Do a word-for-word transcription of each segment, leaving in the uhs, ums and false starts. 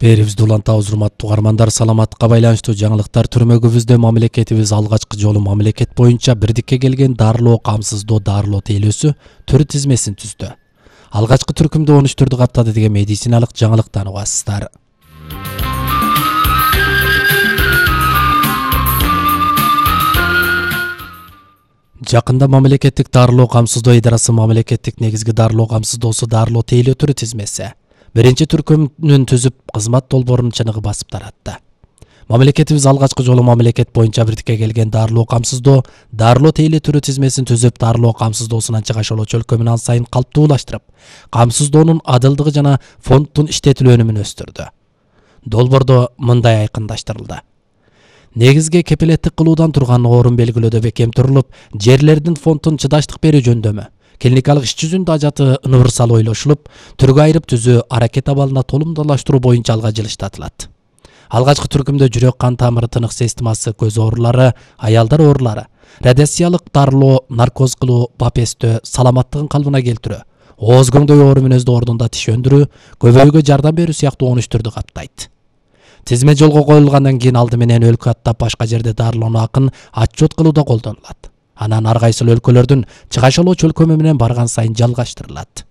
Берибизди улантабыз, урматтуу угармандар. Саламатка байланыштуу жаңылыктар. Түрмөгүбүздө мамлекетибиз алгачкы жолу мамлекет боюнча бирдикке келген дарылоо, камсыздоо, дарылоо тейлөөсү төр тизмесин түздү. Алгачкы түркүмдө он үч түрдү каптады деген медициналык жаңылыктан угасыздар. Жакында мамлекеттик дарылоо камсыздоо идарасы мамлекеттик негизги дарылоо камсыздоосу дарылоо тейлөө түрү тизмеси биринчи түркүмүн түзүп, кызмат долбоорун чыныгы басып таратты. Мамлекетибиз алгачкы жолу мамлекет боюнча бирдикке келген дарылоо камсыздоо, дарылоо тейлөө түрү тизмесин түзүп, дарылоо камсыздоосунан чыгашылуу чөлкөмүн ан сайын калптуулаштырып, камсыздоонун адылдыгы жана фонддун иштетилүү өнүмүн өстүрдү. Долбоордо мындай айкындаштырылды. Негизги кепилеттик кылуудан турган орун белгилөөдө бекем турулуп, жерлердин фондун чыдаштык берүү жөндөмү, клиникалык иш жүзүндө ажаты универсал ойлошулуп, түргө айырып түзүү, аракет абалына толумдалаштыруу боюнча алга жылыштатылат. Алгачкы түркүмдө жүрөк кан тамыры, тынык системасы, көз оорулары, аялдар оорулары, радиациялык дарылоо, наркоз кылуу, бапестөө, саламаттыгын калыбына келтирүү, ооз көңдөй оору мүнөздүү ордунда тиш өндүрүү, көбөйүүгө жардам берүү сыяктуу он үч түрдү каптайт. Тизме жолго коюлгандан кийин алды менен өлкө аттап башка жерде дарылоону акын отчет кылууда колдонулат. Анан ар кайсыл өлкөлөрдүн чыгашалоо чөлкөмү менен барган сайын жалгаштырылат.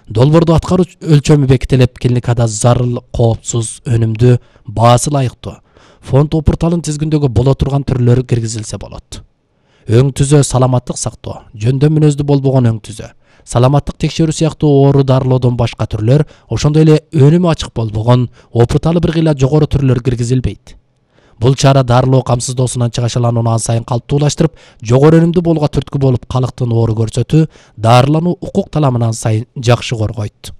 Долбоордо аткаруу өлчөмү бекитилип, клиникада зарыл, коопсуз, өнүмдүү, баасы ылайыктуу фонд опурталын тизгиндөгү боло турган түрлөрү киргизилсе болот. Өң түзөө саламаттык сактоо, жөндөм мүнөздүү болбогон өң түзөө, саламаттык текшерүү сыяктуу оору дарылоодон башка түрлөр, ошондой эле өнүмү ачык болбогон, опурталы бир кыйла жогору түрлөр киргизилбейт. Бул чара дарылоо камсыздоосунан чыгашаланууну ан сайын калптуулаштырып, жогору өнүмдүү болгонго түрткү болуп, калктын оору көрсөтүү, дарылануу укук таламын ан сайын жакшы коргойт.